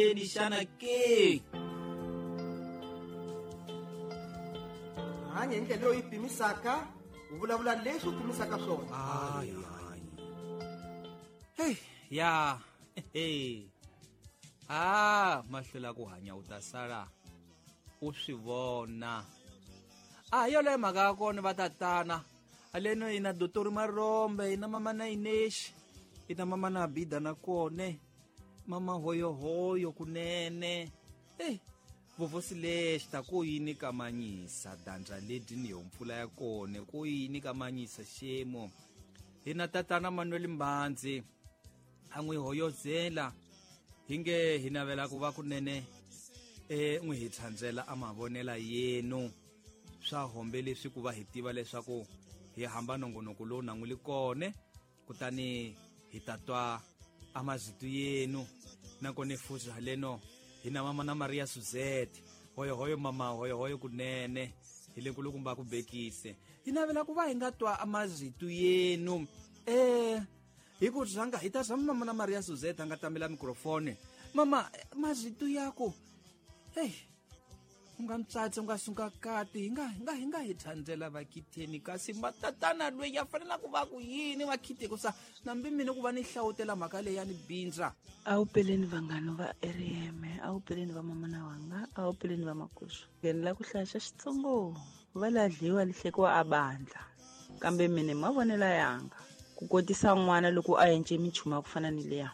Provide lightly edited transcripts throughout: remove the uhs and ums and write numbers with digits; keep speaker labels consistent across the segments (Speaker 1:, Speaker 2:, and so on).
Speaker 1: Yini xana ke?
Speaker 2: Hanya hi ndlela leyi pimisaka, u vulavula leswi u pimisaka swona.
Speaker 1: Hayi hayi. Hey, ya. Hey. Ah, mahlula ku hanya u ta sala u swi vona. A hi yoleyo mhaka ya kona va tatana. Aleno ina Dr. Marombe, ina mama na Inesh, ina mama na Abida na kone. Mama hoyohoyo kunene. Hey, vovosi lexi ta ku yini kamanyisa dandza leti ni yo mpfula ya kone ku yini kamanyisa xemo. Hina tatana Manuel Mbandzi a n'wi hoyozela hi nge hi navela ku va kunene n'wi hi tshandzela a mavonela yenu swa hombe leswi ku va hi tiva leswaku hi hamba nongonoko lowu na n'wi li kone kutani hi ta twa a mazitu yenu nakone futhi haleno hi na mama na Maria Suzette hoyohoyo mama hoyohoyo kunene hi le nkulukumba ku bekise hi navela ku va hi nga twa a mazitu yenu hi ku rhanga hi ta zama mama na Maria Suzette a nga tamela mikrofoni mama mazitu yaku hey u nga mutswatsi u nga sunga kati hi nga hi thandzela vakhitheni kasi matatana loyi ya fanela ku va ku yini vakhite ku sa nambi mina ku va ni hlawutela mhaka leyi ya ni bindza.
Speaker 3: A wu peleni vanghana va RM, a wu peleni va mama na wanga, a wu peleni va makusu. Nghenela ku hlaya xa Xitsongo, va ladliwa lihlekiwa a bandla. Kambe mina mavonelo yanga ku kotisa n'wana loko a endle minchumu ya ku fana ni leya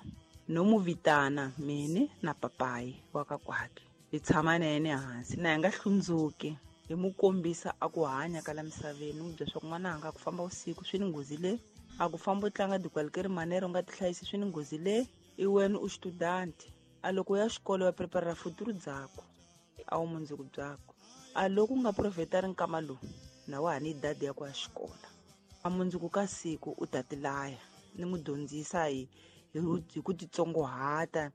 Speaker 3: no mu vitana mini na papayi wa ka kwake. Hi tshama na yena ehansi na hi nga hlundzuki hi mu kombisa a ku hanya ka la misaveni n'wi byela swa ku n'wana anga ku famba vusiku swi ni nghozi le a ku famba u tlanga dikwalike ri manere u nga tihlayisi swi ni nghozi le i wena u student a loko ya xikolo wa preparera futuru dzako a wu mundzuku byako a loko u nga profetari nkama lowu na wa ha ni dadi ya ku ya xikolo a mundzuku ka siku u ta tilaya ni mu dyondzisa hi ku titsongohata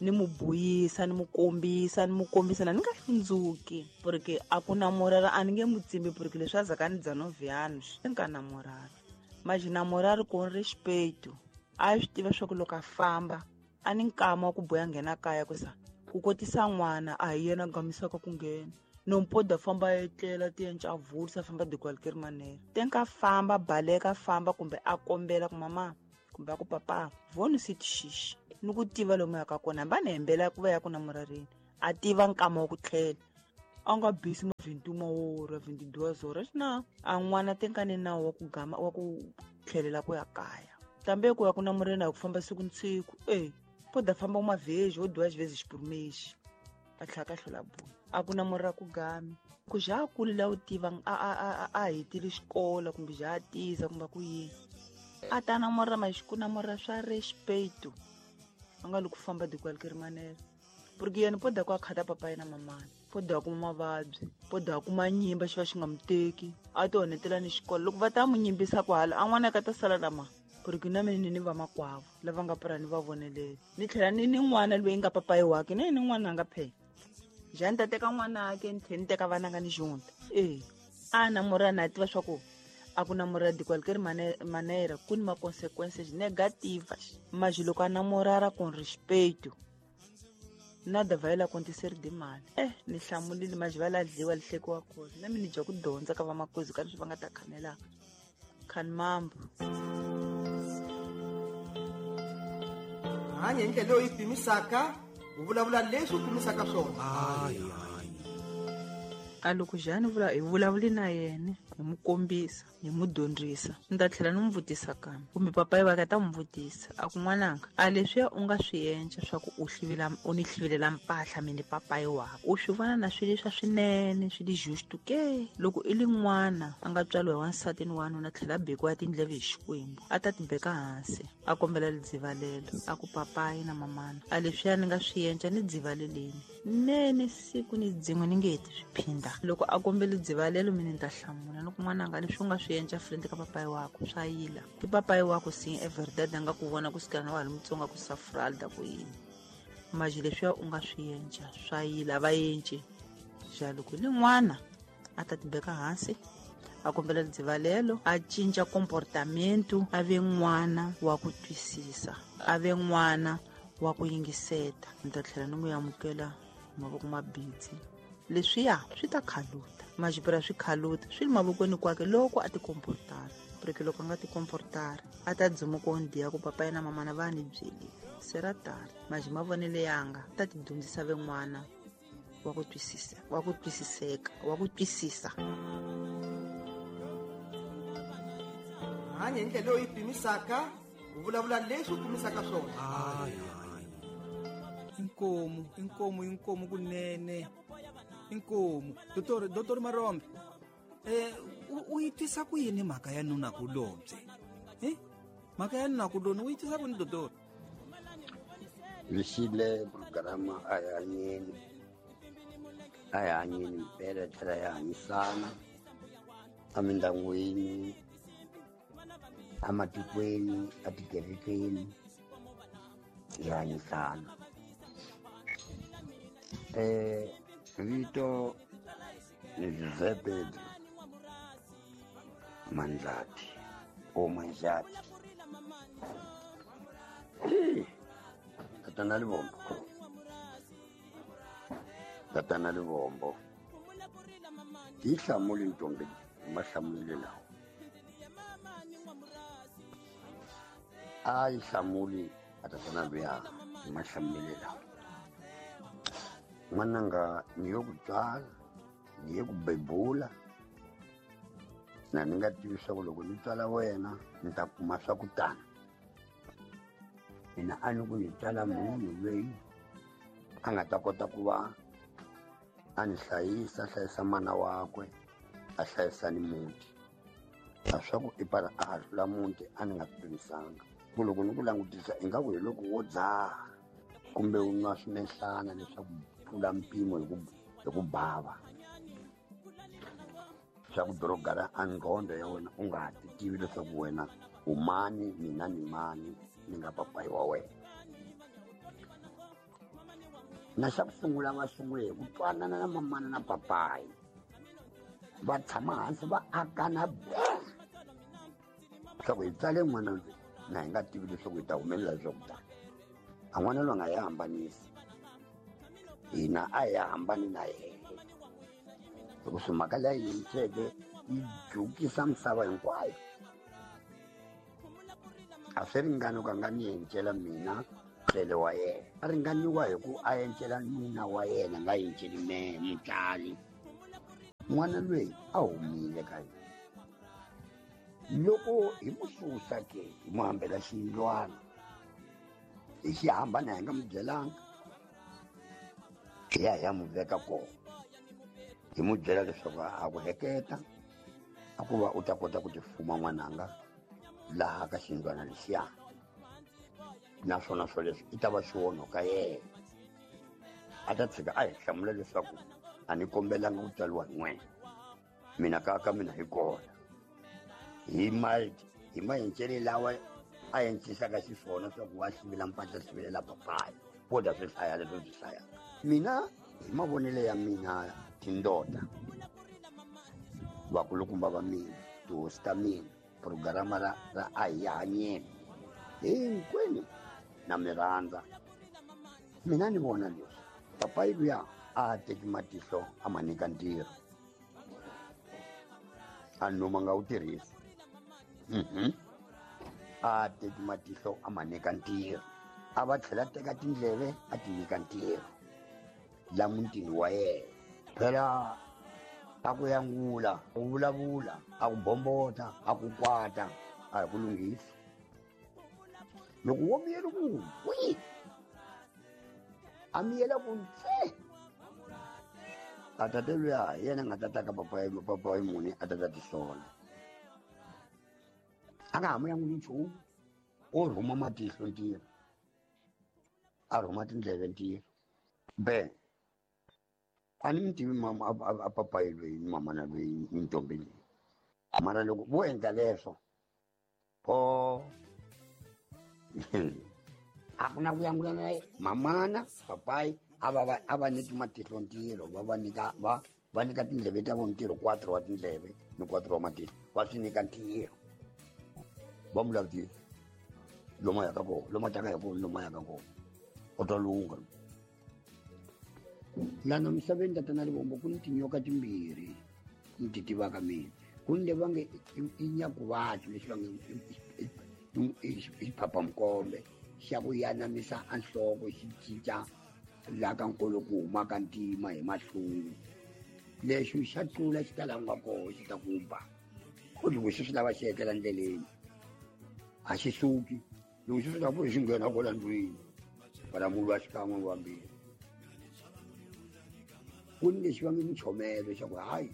Speaker 3: ni mu buyisa ni mu kombisa ni mu kombisa na ni nga hlundzuki porque a ku na morara a ni nge mu tsimbi porque leswi a zaka ni dzanoviano swi nga na morara maji na morara ku respeto a swi tiva swa ku loko a famba a ni nkama wa ku boya nghena kaya ku sa ku kotisa n'wana a hi yena gamisaka ku nghena nompoda famba etlela ti enca vulisa famba dikwalike ri manere tenka famba baleka famba kumbe a kombela ku mama kumbe a ku papa voni si tixixi ni ku tiva lomu ya ka kona hambi a ni hembela ku va ya ku na murarini a tiva nkama wa ku tlhela a nga bisi ma 21 ora 22 ora xina a n'wana tenkane nawu wa ku gama wa ku tlhelela ku ya kaya kambe ku ya ku na mureni a ku famba siku ni siku poda famba mavheji wo dyiwa xivezi xipurumexi a tlhela ka hlola buya a ku na murira ku gami ku ja a kulile a wu tiva a hetile xikolo kumbe ja a tiza kumbe ku yini a ta na murira maxiku na murira swa respeto a nga loko famba dikwalike ri manere porque yena poda ku a khata papayi na mamana poda kuma mavabyi poda kuma nyimba xi va xi nga mu teki a ti onhetela ni xikolo loko va ta mu nyimbisa kwahala a n'wana ka ta sala na ma porque na mina ni vamakwavo lava nga pura ni va vonelela ni tlhela ni ni n'wana loyi nga papayi wake na ni n'wana a nga phela njhani ta teka n'wana ake ni tlhela ni teka vana nga ni xunta a na murana a tiva swa ku a ku na murara dikwalike ri manera ku ni ma-consequences negative maji loko a na murara con respeto nada vai lá acontecer de mal ni hlamulile maji va la dliwa lihlekiwa kona na mina ni dya ku dyondza ka vamakozi ka leswi va nga ta khanelaka khani mambo
Speaker 2: hanya hi ndlela leyi pimisaka u vulavula leswi u pimisaka swona.
Speaker 3: A loko Jani vula hi vulavuli na yena hi mu kombisa hi mu dyondzisa ni ta tlhela ni mu vutisa kambe kumbe papayi va ka ta mu vutisa a ku n'wananga a leswiya u nga swi endla swa ku u hlivela u ni hlivelela mpahla mina papayi wakwe u swi vona na swilo leswa swinene swi li justo ke loko i li n'wana a nga tswariwa hi wansati ni wanuna tlhela a bekiwa tindleve hi Xikwembu a ta ti beka hansi a kombela lidzivalelo a ku papayi na mamana a leswiya ni nga swi endla ni dzivaleleni nene siku ni dzin'we ni nge heti swi phinda loko a kombela dzivalelo mina ni ta hlamula ni ku n'wananga leswi u nga swi endla friend ka papayi wakwe swa yila i papayi wakwe sin everdad a nga ku vona ku sukela na wa ha ri mutsongo ku safralda ku yini maji leswiya u nga swi endla swa yila va endli ja loko ni n'wana a ta tibeka hansi a kombela lidzivalelo a cinca comportamento a ve n'wana wa ku twisisa a ve n'wana Wa ku yingiseta ni ta tlhela ni n'wi amukela mavoko mabitsi leswiya swi ta khaluta majipura swi khaluta swi le mavokweni kwake loko a tikomportara porque loko a nga tikomportara a ta dzumuka ondiya ku papa yena mamana va ni byelile se ra tala maji mavonele yanga ta ti dyondzisa ven'wana wa ku twisisa wa ku twisiseka wa ku twisisa
Speaker 2: hanya hi ndlela leyi pimisaka u vulavula leswi u pimisaka swona.
Speaker 1: Inkomu inkomu inkomu kunene inkomu Dr. Marombe u yi twisa ku yini mhaka ya nuna kulobye mhaka ya nuna kuloni u yi twisa ku yini Dr.
Speaker 4: Lexile programa a hi hanyeni a hi hanyeni mpela tlhela hi hanyisana emindyangwini ematikweni etikerekeni hi hanyisana. Vito ni José Pedro Mandlati o Manjati. Tatana Livombo, Tatana Livombo yi hlamuli ntombi mahlamulelo lawa a yi hlamuli a tatana luya hi mahlamulelo lawa. N'wananga ni yo ku tswala ni ye ku bebula na ni nga tivi swa ku loko ni tswala wena ni ta kuma swa ku tana. Mina a ni ku ni tswala munhu loyi a nga ta kota ku va a ni hlayisa, a hlayisa mana wakwe, a hlayisa ni muti. A swa ku i para a hahlula muti a ni nga swi pimisanga. Ku loko ni ku langutisa ingaku hi loko wo dzaha kumbe u nwa swimehlana leswaku tlula mpimo hi ku bava. Swa ku dorogara a ngqondo ya wena u nga ha ti tivi leswaku wena u mani mina ni mani ni nga papayi wa wena. Na xa ku sungula va sungule hi ku twanana na mamana na papayi va tshama hansi va akana leswaku hi tsale n'wana loyi na hi nga tivi leswaku hi ta humelela leswaku tani a n'wana loyi a nga hi hambanisi hina a hi hambani na yena hikuva mhaka leyi yimiseke yi jukisa misava hinkwayo. A swi ringani ku a nga ni encela mina tlele wa yena a ringaniwa hi ku a encela nuna wa yena nga enceli mehe mutswari. N'wana loyi a humile ka yena loko hi mu susa ke hi mu hambela xiyindlwana hi xi hambana hi nga mu byelanga hi ya hi ya mu veka kona hi mu byela leswaku a ku heketa a ku va u ta kota ku tifuma n'wananga laha ka xiyindlwana lexiya naswona swo leswi i ta va xiwonho ka yena a ta tshika a hi hlamula leswaku a ni kombelanga ku tswariwa hi n'wena mina ka mina hi kona hi hi maencele lawa a encisaka xiswona swa ku wa hlivela mpahla hlivelela papayi wo ta swi hlaya leswi swi hlayaka. Mina hi mavonelo ya mina tindota vakulukumba va mina tihosi ta mina programa ra a hi hanyeni hinkwenu na mi rhandza. Mina ni vona leswi papayi luya a teki matihlo a ma nyika ntirho a noma nga wu tirhisi a teki matihlo a ma nyika ntirho a va tlhela teka tindleve a ti nyika ntirho la mutini wa yena. Phela a ku yangula ku vulavula a ku bombota a ku kwata a hi ku lunghisa loko wo miyela ku wi a miyela ku ntsee a tate luya hi yena a nga ta ta ka papayi muni a ta ta tisola a nga ha mu yanguli nchumu o rhuma matihlo ntirho a rhuma tindleve ntirho be a ni mi tivi mama a papayi loyi ni mamana loyi ni ntombi leyi mara loko vo endla leswo o a ku na ku yangula na mamana papayi a va nyiki matihlo ntirho va nyika va nyika tindleve ta vona ntirho 4 wa tindleve ni 4 wa matihlo va swi nyika ntirho va mu langutisa lomu a yaka kona lomu a taka hi kona lomu a yaka kona. U ta lungha lana misaveni tatana Rivombo ku ni tinyoka timbirhi ni ti tivaka mina. Ku ni le va nge i nyakuvatlu lexi va nge i xiphaphamkombe xa ku yanamisa a nhloko xi cinca laha ka nkolo ku humaka ntima hi mahlungu. Lexi xa tlula xi ta laha ku nga koho xi ta ku ba. Ku loko xi swi lava xi etlela ndleleni a xi suki, loko xi swi lava xi nghena kwala ndlwini va mulwa xikan'we vambirhi. Ku ni lexi va nge muchomelo xa ku hayi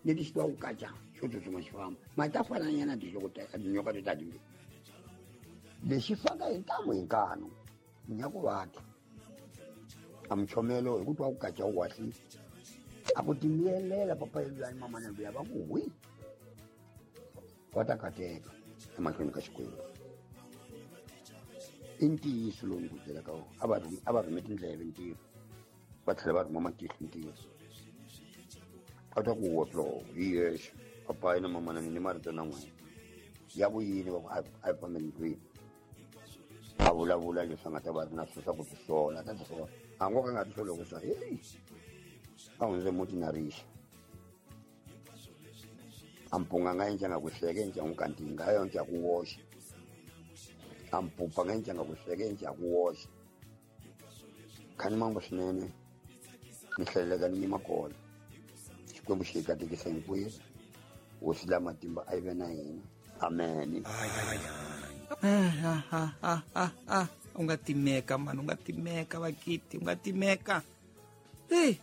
Speaker 4: leti xi twa ku kaca xo tsutsuma xi famba ma ta fananyana tinhloko tinyoka to ta timbirhi. Lexi faka hi ntamu hi nkanu nyakuvatlu a muchomelo hi ku twa ku kaca wu wahlile a ku timiyelela papa yeluyani mamana luya va ku hwi va ta kateka emahlweni ka Xikwembu. I ntiyiso lowu ni ku byelaka wona. A va rhume tindleve ntirho va tlhela va rhuma matihlo ntirho. A ta ku wotlo hi yexe papayi na mamana ni marito na n'wina ya ku yini va ku a hi fambeni ndlwini. A vulavula leswi a nga ta va ri na swilo swa ku tisola a ta tisola a ngo ka nga tisoli ku swa heyi a hundze muti na rixa. A mpunga nga endla nga ku sweka endla n'wi kantinga a yonke ya ku woxa. A mpupa nga endla nga ku sweka endla ya ku woxa. Khani mambo swinene ni hlaleleka ni nyima kona. Xikwembu xi hi katekisa hinkwerhu. Hosi la matimba a yi ve na hina. Amen.
Speaker 1: U nga timeka mani, u nga timeka vakiti, u nga timeka. Hey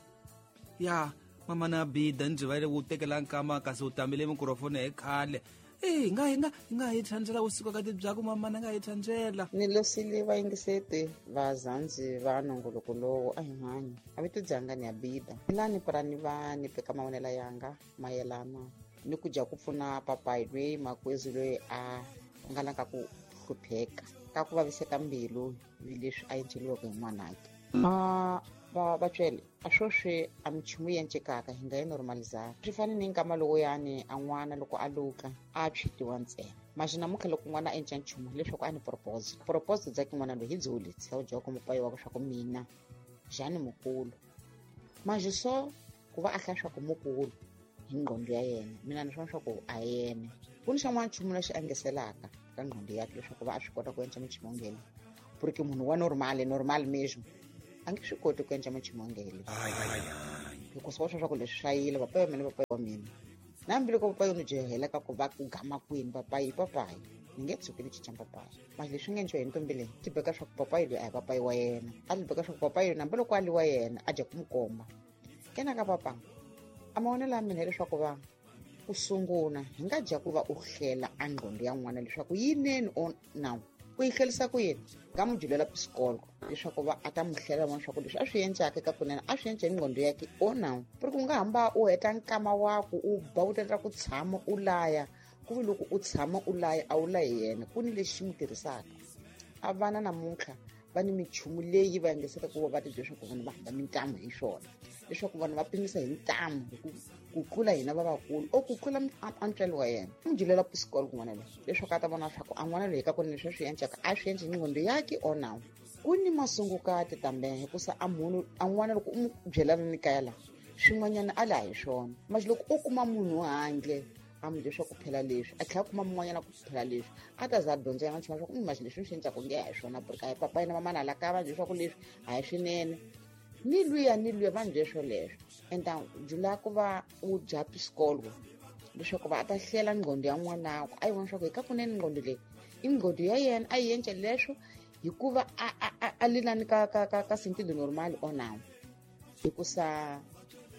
Speaker 1: ya mama na bida ndzi va le ku tekela nkama kasi u tambile mikrofoni hi khale. Hey nga hi thandzela vusiku ka tibyaku mama na nga hi thandzela.
Speaker 5: Ni losile vayingiseti vazandzi va nongoloko lowu a hi hanyi. A vito dzanga ni ya bida. Lani purani va ni peka mavonelo yanga mayelana ni ku dya ku pfuna papayi loyi makwezi loyi a nga la ka ku hlupheka ka ku vaviseka mbilu hi leswi a endleriweke hi n'wanake. Vatswele a swoswi a minchumu yi encekaka hi nga yi normalizaka. Swi fane ni nkama lowuyani a n'wana loko a luka a tshwitiwa ntsena. Maxi namuntlha loko n'wana a enca nchumu hileswaku a ni propose. Propose bya ki n'wana loyi hi byo lebyi u dya ku mupayi wa swa ku mina Jani mukulu. Maxi so ku va a hlaya swa ku mukulu hi ngqondo ya yena mina ni swona swa ku a yena. Ku ni xan'wana nchumu lexi engeselaka ka ngqondo yakhe leswaku va a swi kota ku enca minchumu ngele. Porque munhu wa normal mesmo a nge swi koti ku endla minchumu ngele. Hikuva swa ku leswi swa yile papayi wa mina papayi wa mina. Na hambiloko papayi ni jehela ka ku va ku gama kwini papayi papayi ni nge tshuki ni cinca papayi. Mali leswi nga endliwa hi ntombi leyi ti beka swa ku papayi loyi a hi papayi wa yena. A ti beka swa ku papayi loyi hambiloko a li wa yena a dya ku n'wi komba. Kena ka papa a mavonelo ya mina hileswaku va ku sungula hi nga dya ku va u hlela a ngqondo ya n'wana leswaku yinene or now. Ku yi hlerisa ku yini nga n'wi julela pisikolo leswaku va a ta n'wi hlela vona swa ku leswi a swi endlaka ka kunene a swi endla hi ngqondo yakhe o now. Ku ri ku nga hamba u heta nkama wa ku u ba u tendla ku tshama u laya ku vi loko u tshama u laya a wu layi yena ku ni lexi xi n'wi tirhisaka. A vana namuntlha va ni minchumu leyi va engeseka ku va va ti byela leswaku vanhu va hamba mintamu hi swona leswaku vanhu va pimisa hi ntamu hi ku tlula hina lavakulu o ku tlula a ntswalo wa yena. N'wi julela pisikolo kun'wana loyi leswaku a ta vona leswaku a n'wana loyi ka kunene leswi a swi endlaka a swi endli hi ngqondo yakhe or now. Ku ni masungukati tambe hikusa a munhu a n'wana loko u n'wi byela ni kaya laha swin'wanyana a laha hi swona. Manje loko u kuma munhu handle a n'wi leswaku phela leswi a tlhela kuma mun'wanyana ku phela leswi a ta za a dyondza yena nchumu leswaku manje leswi swi endlaka nge a hi swona porque a hi papa yena mamana la kaya va leswaku leswi a hi swinene. Ni luya va ndle swoleswo. Enta jula ku va u dya pisikolo leswaku va a ta hlela ngqondo ya n'wanakwe a yi vona leswaku hi ka kunene ngqondo leyi i ngqondo ya yena a yi endla leswo hikuva a lilani ka sentido normal or now. Hikusa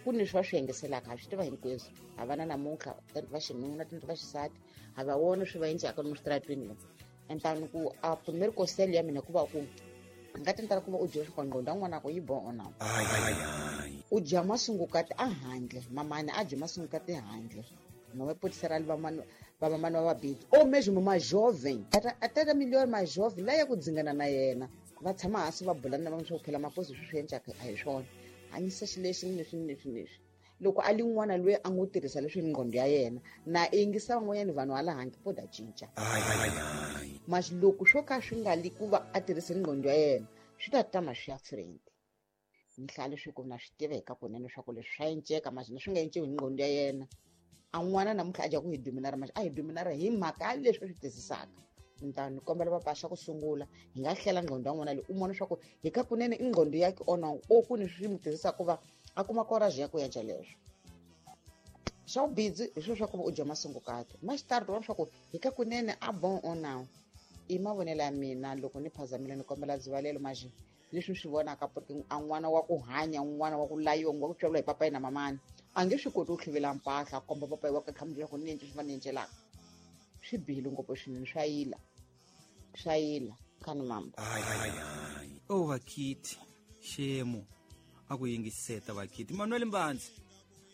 Speaker 5: ku ni leswi va swi engeselaka ha swi tiva hinkweswo. Ha vana namuntlha tanti va xinuna tanti va xisati ha va vona swi va endlaka lomu switaratweni lomu. Entani ku a primeiro conselho ya mina ku va ku nga tentela ku va u dya swa ngqondo ya n'wanako yi boho na. U dya masungukati a handle mamani a dya masungukati handle. Mama pode ali vamamani va vabidi ou mesmo uma jovem até da melhor mais jovem lá ya ku dzingana na yena va tshama hansi va bulana na va swa ku phela makosi swi swi endlaka a hi swona. Hanyisa xilexi ni leswi ni leswi ni leswi. Loko a li n'wana loyi a ngo tirhisa leswi ngqondo ya yena na yingisa van'wanyana vanhu hala handle po da cinca. Masi loko swo ka swi nga li ku va a tirhise ngqondo ya yena Swi ta tama swi ya friend. Ni hlaya leswi ku na swi tiva hi ka kunene leswaku leswi swa enceka manje swi nga enciwi hi nqondo ya yena. A n'wana namuntlha a dya ku hi dominara manje a hi dominara hi mhaka leswi swi twisisaka. Ni ta ni kombela papa xa ku sungula hi nga hlela nqondo ya n'wana leyi u vona leswaku hi ka kunene i nqondo ya ki ona o ku ni swi mi tirhisaka ku va a kuma courage ya ku endla leswo. Xa vubindzu hi swilo swa ku va u dya masungukati ma xitari vona leswaku hi ka kunene a bon on now. I mavonelo ya mina loko ni phazamile ni kombela dzivalelo manje leswi swi vonaka porque a n'wana wa ku hanya n'wana wa ku layiwa wa ku tswariwa hi papayi na mamani a nge swi koti ku tlhuvela mpahla a komba papayi wa ka leswaku ni endle swi va ni endlelaka. Swi bihile ngopfu swinene swa yila swa yila khani mamba.
Speaker 1: O vakhiti xemo a ku yingiseta vakhiti Manuel Mbanzi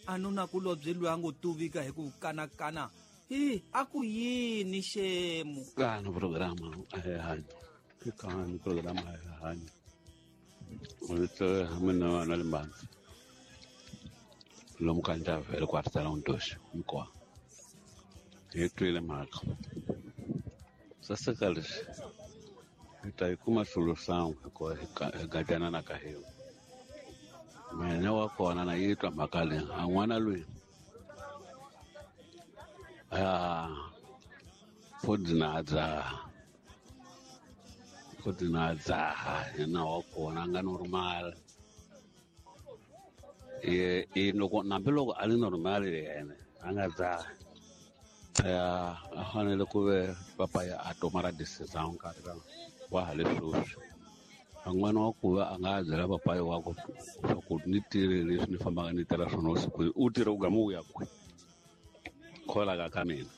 Speaker 1: a nuna ku lobye loyi a ngo tuvika hi ku kanakana hi a ku yini xemo
Speaker 6: kani programa a hi hanyi i kani programa a hi hanyi vito mina Manuel Mbanzi lomu ka Ndlavele kwarisela Ntoxi hinkwawo hi twile mhaka saseka leswi hi ta yi kuma solution hikuva hi gadyana na ka hina. Mina wa kona na yi twa mhaka leyi a n'wana loyi a pho dzaha pho dina dzaha yena wa kona a nga normal ye i loko hambiloko a li normal yena a nga dzahi ya a fanele ku ve papa ya a toma ra decision nkarhi wa ha le sweswi. A n'wana wa ku va a nga byela papayi wa ku swa ku ni tirhe leswi ni fambaka ni tirha swona vusiku u tirhe u gama u ya kwihi kholaka ka mina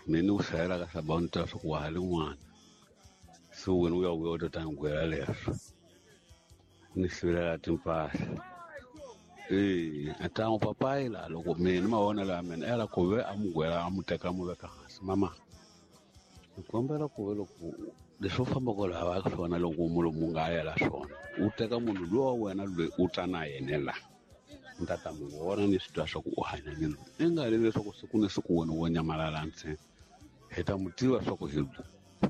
Speaker 6: mina ni ku hlayela ka sabawuni ta swa ku wa ha li n'wana se wena u ya vuya u ta ta ni gwela leswo ni sivelela timpahla. A ta n'wi papayi laha loko mina mavonelo ya mina ela ku ve a mu gwela a mu teka a mu veka hansi mama ni kombela ku ve loko leswi u fambaka lava swona loko mulomu nga yela swona u teka munhu luwa wa wena loyi u ta na yena la ni ta ta mu vona ni swi twa swa ku u hanya ni loyi i nga ri leswaku siku ni siku wena wo nyamalala ntsena hi ta mu tiva swa ku hi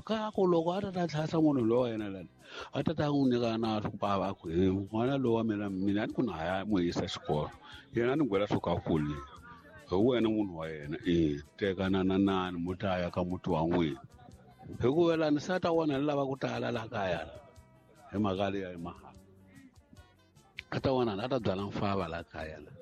Speaker 6: ka ku loko a ta ta tlhasa munhu lowa yena lani a ta ta n'wi nyika na swa ku bava a ku he n'wana lowa mina mina ni ku na ya n'wi yisa xikolo yena ni gwela swo ka kuli hi wena munhu wa yena e tekana na nani mu ta ya ka muti wa n'wina hikuva lani se a ta vona ni lava ku tala laha kaya la hi mhaka leyi ya mahala a ta vona a ta byala mfava laha kaya la.